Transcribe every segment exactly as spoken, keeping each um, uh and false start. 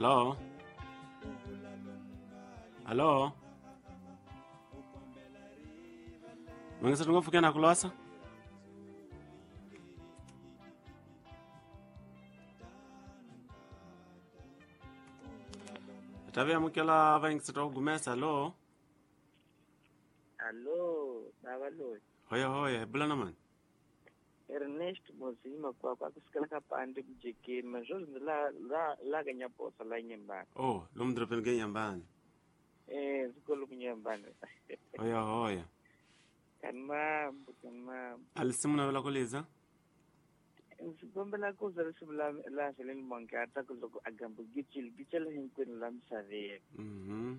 Hello. Hello. Mangisa ngopfu kana kulasa. Tabe amukela vangisa to gumesa. Hello. Allo, baba lo. Hoya hoya, bulana man. Ernest Mozima kwa kwa kusikala kapande kujekeni manjozi la la la ganyaposa la nyembani. Oh, lo mdropeni genyambani. Eh, zikolo kunyambani. Hoya hoya. Kanmambo kanmambo. Alisimu na kuliza? Nsigombela kuza lisimu la la Helen Mongata kuloko agambo gichil gichel hinkwenu la msaveni. Mhm.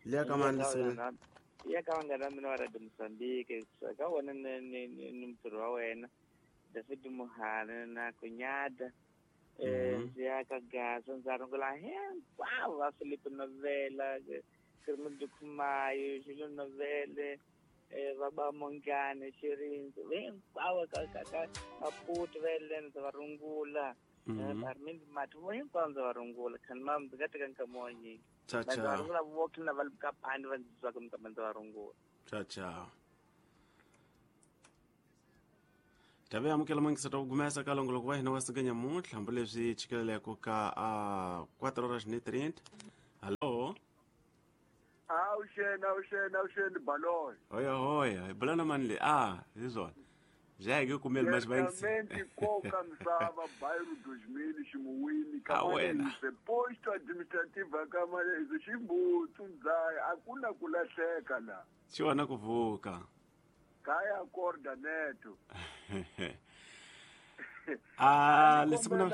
Liya kama lisimu. Ya ka vangana mina wa Radio Mozambique ka wona ni ni ni mutirhi wa wena David Muhana na Kunyada eh ndzi ya ka Gaza ndza rungula hinkwavo va Philip Novela Kermit Khumayo Julio Novele eh va Mongane Xirinzi hinkwavo ka ka ka Maputo va Elen ndza va rungula Armin Matu vo hinkwavo ndza va rungula khani mam ndzi nga teka nkama wa nyingi. Ciao ciao. Ciao ciao. Tabe amukela mangisa to gumesa ka longoloko wa hina wa siganya muntlha hambi leswi chikeleleko ka a quatro horas e trinta. Hello. Awuxeni awuxeni awuxeni baloyi. Hoya hoya, bulana mani le ah, hizona. Jage kumele mas bangisi. Koka misava bairro dois mil ximuwini ka posto administrativa kama ximbutu ndzaya akuna kulahleka la. Xiwana kuvuka. Kaya acorda neto. Ah, lesimuna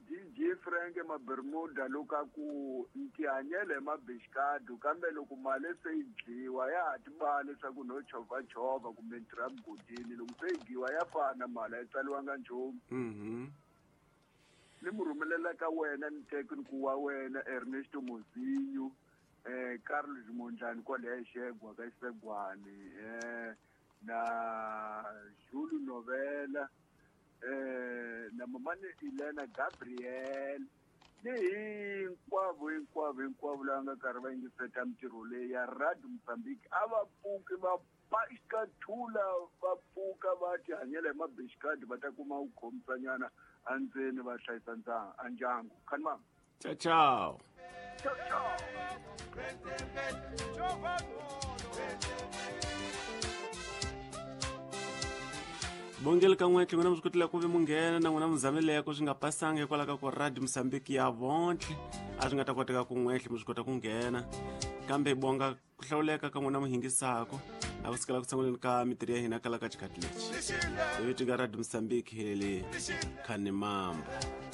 D J Frank ma Bermuda loka ku ntihanyele ma bishkadu kambe loko mali se yi dliwa ya ha tibale swa ku no chova chova kumbe ntirha mugodini loko se yi dliwa ya fana mali a yi tsaliwanga nchumu. Mhm. Ni mu rhumelela ka wena ni tekniku wa wena Ernesto Mozinho eh Carlos Mondlane kwale Xegwa ka Xegwani eh na Julio Novela eh na mamane Elena Gabriel ni hinkwavo hinkwavo hinkwavo lava nga karhi va yingiseta mintirho leyi ya Radio Mozambique a va pfuki va paxikathula va pfuka va tihanyela hi mabixikadi va ta kuma ku khomisanyana endzeni va hlayisa a ndyangu. Khani mama. Ciao ciao. Ciao ciao. Bongele ka n'we n'wina mi swi kotile ku vi munghena na n'wina muzameleko swi nga pasanga hikwalaho ka ku Radio Mozambique ya vontlhe a swi nga ta koteka ku n'wehle mi swi kota ku nghena kambe bonga ku hlawuleka ka n'wina muhingisako a ku sikela ku sunguleni ka mitirho ya hina kala ka xikhathi lexi hi vito ka Radio Mozambique helele khani mambo.